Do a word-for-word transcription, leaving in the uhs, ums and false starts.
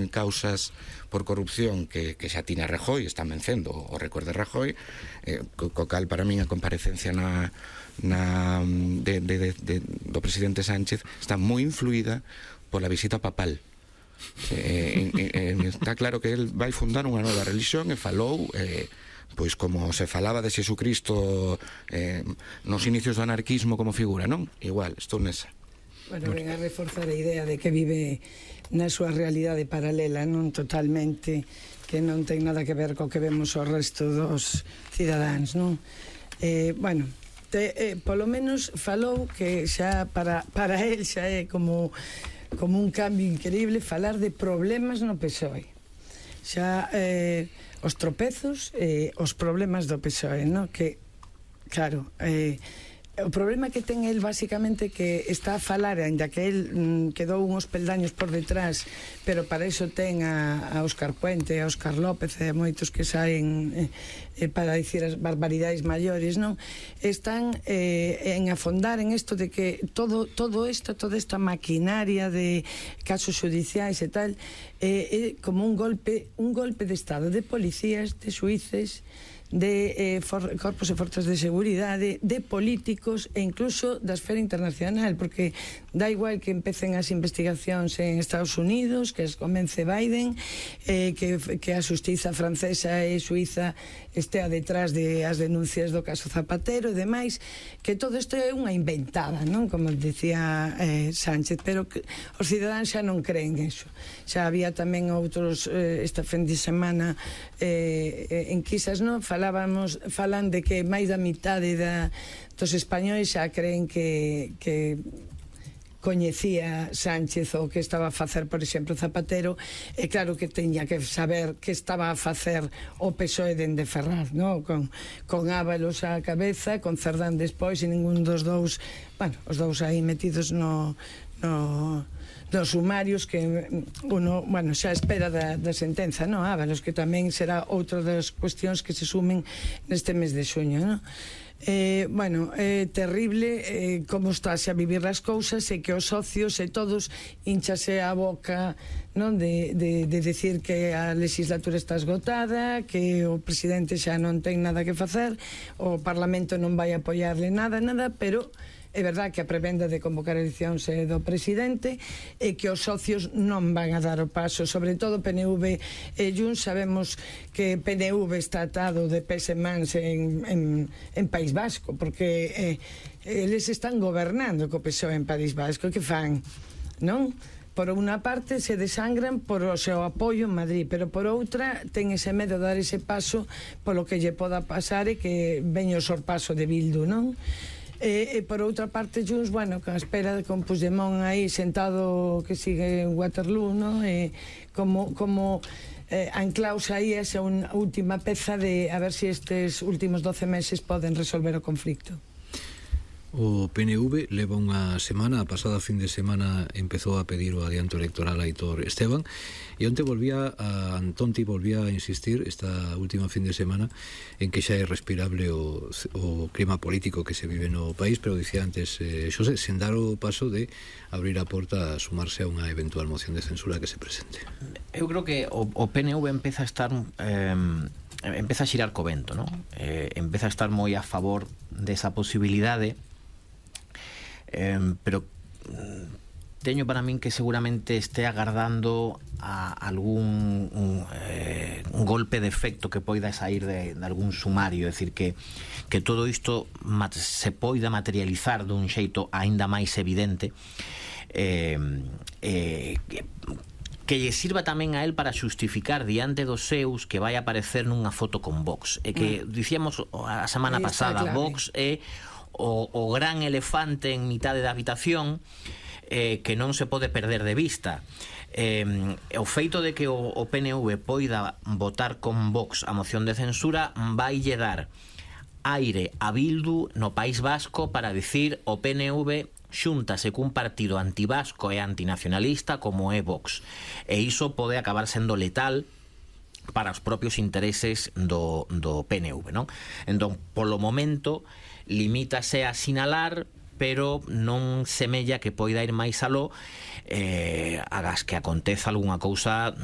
en causas por corrupción que, que xa tiña Rajoy, están vencendo o récord de Rajoy, eh, co, co cal para min a comparecencia na, na de, de, de, de, do presidente Sánchez está moi influída pola visita papal. Eh, eh, eh, está claro que el vai fundar unha nova religión e falou eh, pois como se falaba de Xesucristo eh, nos inicios do anarquismo como figura, non? Igual, estou nesa. Bueno, ven a reforzar a idea de que vive na súa realidade paralela, non totalmente, que non ten nada que ver co que vemos o resto dos cidadáns, non? Eh, bueno, te, eh, polo menos falou que xa para, para el xa é como como un cambio increíble falar de problemas no P S O E. Xa eh, os tropezos e eh, os problemas do P S O E, no? Que, claro, eh, o problema que ten el basicamente que está a falar, ainda que el mm, quedou uns peldaños por detrás, pero para iso ten a, a Óscar Puente, a Óscar López e a moitos que saen eh, eh, para dicir as barbaridades maiores, non? Están eh, en afondar en isto de que todo todo isto, toda esta maquinaria de casos judiciais e tal é eh, eh, como un golpe un golpe de estado de policías, de xuíces, de eh, for, corpos e forzas de seguridade, de políticos e incluso da esfera internacional, porque dá igual que empecen as investigacións en Estados Unidos, que as comence Biden, eh, que, que a xustiza francesa e suiza estea detrás de as denuncias do caso Zapatero e demais, que todo isto é unha inventada, non? Como dicía eh, Sánchez, pero que os cidadáns xa non creen eso. Xa había tamén outros eh, esta fin de semana eh, enquisas, non? Falábamos, falan de que máis da mitade da, dos españois xa creen que, que coñecía Sánchez o que estaba a facer, por exemplo, Zapatero, e claro que teña que saber que estaba a facer o P S O E dende Ferraz, no? con, con Ábalos á cabeza, con Cerdán despois, e ningún dos dous, bueno, os dous aí metidos no... no dos sumarios que uno, bueno, xa espera da, da sentenza, non? Ábalos, que tamén será outra das cuestións que se sumen neste mes de xuño, non? Eh, bueno, é eh, terrible eh, como estáse a vivir as cousas e que os socios e todos hinchase a boca, non? De, de, de decir que a legislatura está esgotada, que o presidente xa non ten nada que facer, o Parlamento non vai apoiarle nada, nada, pero é verdad que a prebenda de convocar eleccións é do presidente e que os socios non van a dar o paso, sobre todo P N V e Junts. Sabemos que P N V está atado de pés e mans en, en, en País Vasco, porque eh, eles están gobernando co P S O E en País Vasco. Que fan, non? Por unha parte se desangran por o seu apoio en Madrid, pero por outra ten ese medo de dar ese paso polo que lle poda pasar e que veño o sorpaso de Bildu, non? E, e por outra parte Junts, bueno, con a espera de con Puigdemont aí sentado que sigue en Waterloo, no? E como, como eh, anclaos aí esa unha última peza de a ver se si estes últimos doce meses poden resolver o conflicto. O P N V leva unha semana, a pasada fin de semana empezou a pedir o adianto electoral a Aitor Esteban, e onte volvía a Antonti volvía a insistir esta última fin de semana en que xa é respirable o, o clima político que se vive no país, pero dicía antes eh, Xosé, sen dar o paso de abrir a porta a sumarse a unha eventual moción de censura que se presente. Eu creo que o, o P N V empeza a estar eh, empeza a xirar co vento, non? Eh, empeza a estar moi a favor desa posibilidade. Eh, pero teño para min que seguramente este agardando a algún un, eh, un golpe de efecto que poida sair de, de algún sumario, é dicir, que, que todo isto mat, se poida materializar dun xeito aínda máis evidente, eh, eh, que, que lle sirva tamén a él para xustificar diante dos seus que vai aparecer nunha foto con Vox, e que mm. dicíamos a semana pasada, Vox é O, o gran elefante en mitade da habitación eh, que non se pode perder de vista. Eh, o feito de que o, o P N V poida votar con Vox a moción de censura vai lle dar aire a Bildu no País Vasco para dicir o P N V xúntase cun partido antivasco e antinacionalista como é Vox, e iso pode acabar sendo letal para os propios intereses do, do P N V, non? Entón, polo momento limítase a sinalar, pero non semella que poida ir máis aló eh, agas que aconteza algunha cousa